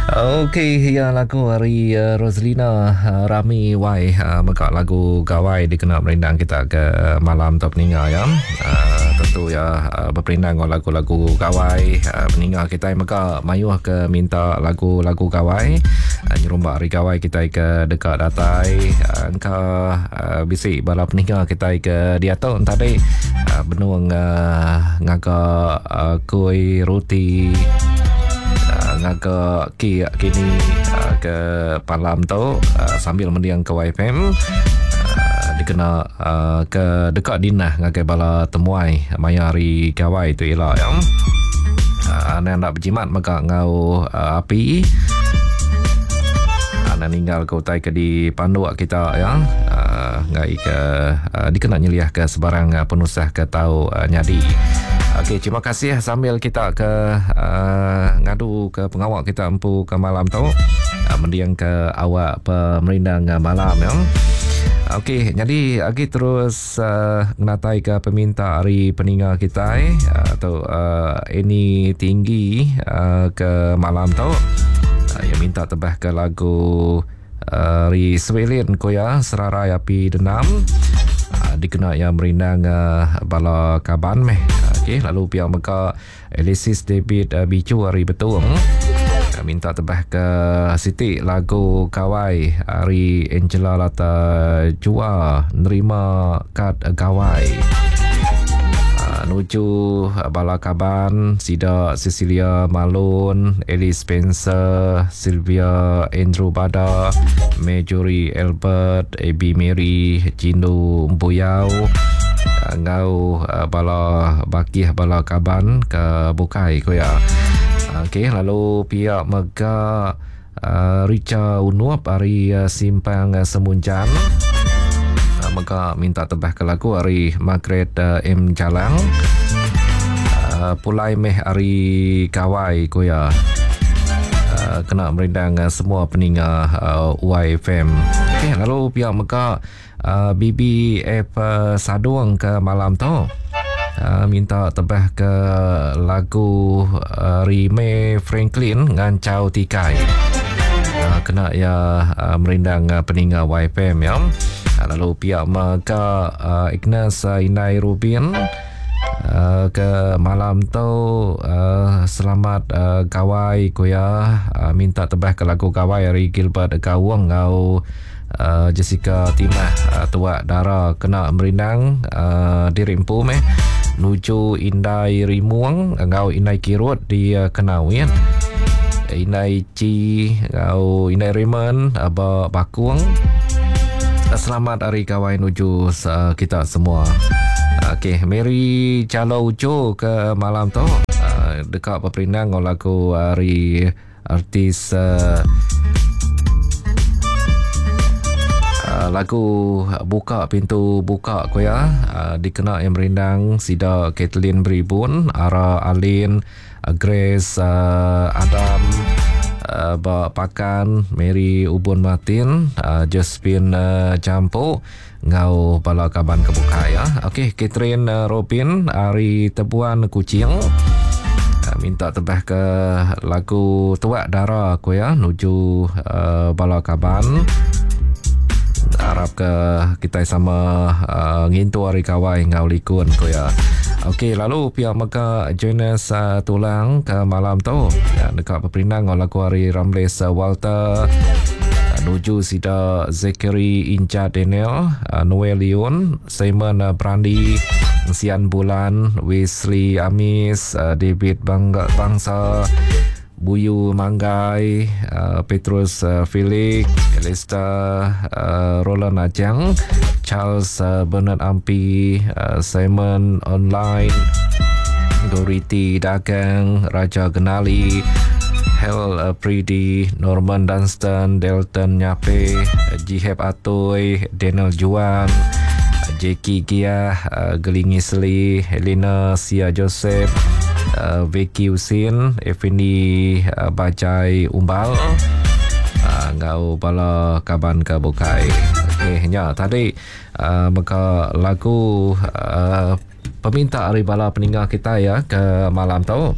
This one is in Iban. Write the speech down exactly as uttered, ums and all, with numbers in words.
Okey, ya lagu ari uh, Roslina uh, Rami Y uh, mega lagu gawai dikena merindang kita ke malam tu peninga ya. Uh, tentu ya uh, berperindang dengan lagu-lagu gawai. Uh, peninga kita mega mayuh ke minta lagu-lagu gawai. Uh, nyerumbak hari gawai kita ke dekat datai. Uh, engka uh, bisi bala peninga kita ke diatu tadi uh, benung uh, ngaga uh, kuih roti ngaga ki kini uh, ke palam tu uh, sambil mendiang ke Y F M uh, dikena uh, ke dekat dinah ngagai bala temuai maya hari gawai tu ila ya. Uh, anda nak berjimat mega ngau uh, api. Anda ninggal ke utai ke di panduk kita ya. Uh, ngai ke uh, dikena nyeliah ke sebarang uh, penusah ke tau uh, nyadi. Okey, terima kasih sambil kita ke uh, ngadu ke pengawak kita empu ke malam tu. Uh, mendiang ke awak pemerindang malam ya. Okey, jadi lagi terus uh, ngatai ke peminta hari peninga kita eh atau uh, ini tinggi uh, ke malam tu. Uh, yang minta tebah ke lagu uh, Ri Swelin koya Serarai Api Denam. Uh, dikena yang merindang uh, bala kaban meh. Okey, lalu pihak mega Elisis David uh, Bicu hari Betung uh, minta tebah ke Siti lagu Gawai hari Angela Lata Jua nerima kad gawai. Uh, nuju bala kaban Sida Cecilia Malone, Alice Spencer, Sylvia Andrew Bada, Majorie Albert, Abby Mary, Jindu Mbuyau, ngau bala bakih bala kaban ke bukai ko ya. Okey, lalu pihak mega uh, Richa Unup hari uh, Simpang uh, Semunjan uh, mega minta tebah ke lagu hari Margaret uh, M Jalang uh, Pulai meh hari Gawai ko ya. Uh, kena merindang uh, semua peninga uh, Y F M. Okey, lalu pihak mega Uh, B B F uh, Sadung ke malam tu uh, minta tebah ke lagu uh, Rime Franklin Ngancau Tikai. Uh, kena ya uh, merindang uh, peninga Y F M ya. Uh, lalu pihak mega uh, Ignas uh, Inai Rubin uh, ke malam tu uh, selamat uh, gawai koya uh, minta tebah ke lagu gawai hari Gilbert Gawang ngau Uh, Jessica Timah uh, Tuak Dara kena merindang uh, diri empu meh nuju Indai Rimuang ngau Indai Kirut di uh, Kenawin Indai Ci ngau Indai Raymond aba Bakung. Selamat hari gawai nuju uh, kita semua. Okey, Mary Calo Ujo ke malam tu uh, dekat peperindang ngau lagu hari artis uh, lagu Buka Pintu Buka ko ya uh, dikena yang merindang Sida Kathleen Beribun, Ara Alin, Grace uh, Adam, uh, Bak Pakan, Mary Ubun Martin, uh, Josephine uh, Jampo ngau bala kaban kebuka ya. Okey, Catherine uh, Robin ari Tebuan Kuching uh, minta tebah ke lagu Tuak Dara ko ya nuju uh, bala kaban. Harap ke kita sama uh, ngintu hari kawai ngau likun ko ya. Okey, lalu pihak mega Jonas uh, Tulang ke malam tu ya, dekat peperindang ngau lagu hari Ramles uh, Walter uh, nuju Sida Zachary Inja Daniel, uh, Noel Leon, Simon uh, Brandi, Sian Bulan, Wesley Amis, uh, David Bangga Bangsa, Buyu Manggai, uh, Petrus uh, Felix, Elista uh, Roland Ajang, Charles uh, Bernard Ampi, uh, Simon Online, Doriti Dagang, Raja Genali, Hel uh, Pridi, Norman Dunstan, Delton Nyape, Jiheb Atoy, Daniel Juan, Jackie Gia, uh, Gelingi Seli, Helena Sia Joseph, Uh, Vicky Husin, Effendi uh, Bajai Umbal, uh, ngau bala kaban ke bukai. Okey, nya tadi uh, maka lagu uh, peminta ari bala peninggal kita ya ke malam tu.